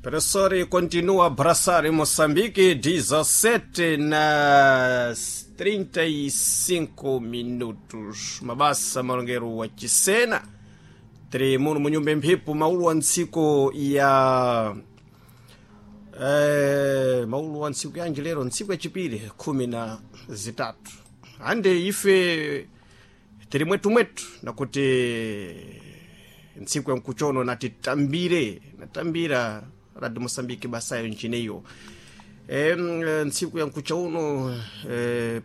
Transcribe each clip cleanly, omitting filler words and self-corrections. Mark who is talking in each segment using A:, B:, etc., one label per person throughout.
A: Professor continua a abraçar em Moçambique, 17 nas 35 minutos. Mabasa malongero wa Chisena tiri muno munyumba mphepo maulu wa ntsiku ya maulu wa ntsiku yanji lero, ntsiku yachipiri 13 ande ife tiri mwetumwetu nakuti ntsiku ya mkuchono natitambire natambira Radio Moçambique basayo nchineyo ntsiku ya mkucha uno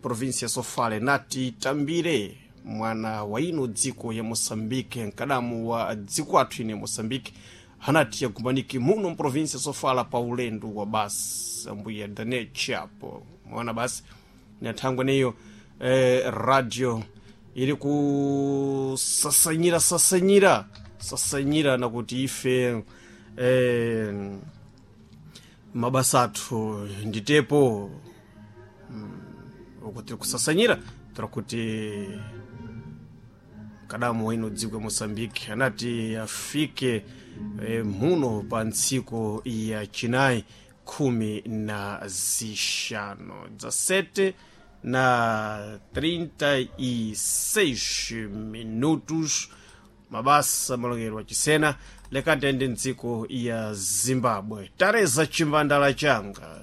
A: província Sofale natitambire mwana wa ino dziko ya Moçambique, mkadamu wa dziko athu ine Moçambique hanati yakumaniki muno mprovíncia Sofala pa ulendo wa basi ambuya Daniel Chapo mwana basi nathangwa neyo radio ili kusasanyira sasanyira sasanyira nakuti ife mabasa athu nditepo ukuti kusasanyira tirakuti kadamu waino dziko ya Moçambique anati afike muno pa ntsiku ya chinayi 15 17 na 36 minutos. Mabasa malongero achisena lekatende ndziko ya Zimbabwe tareza chimbandala changa.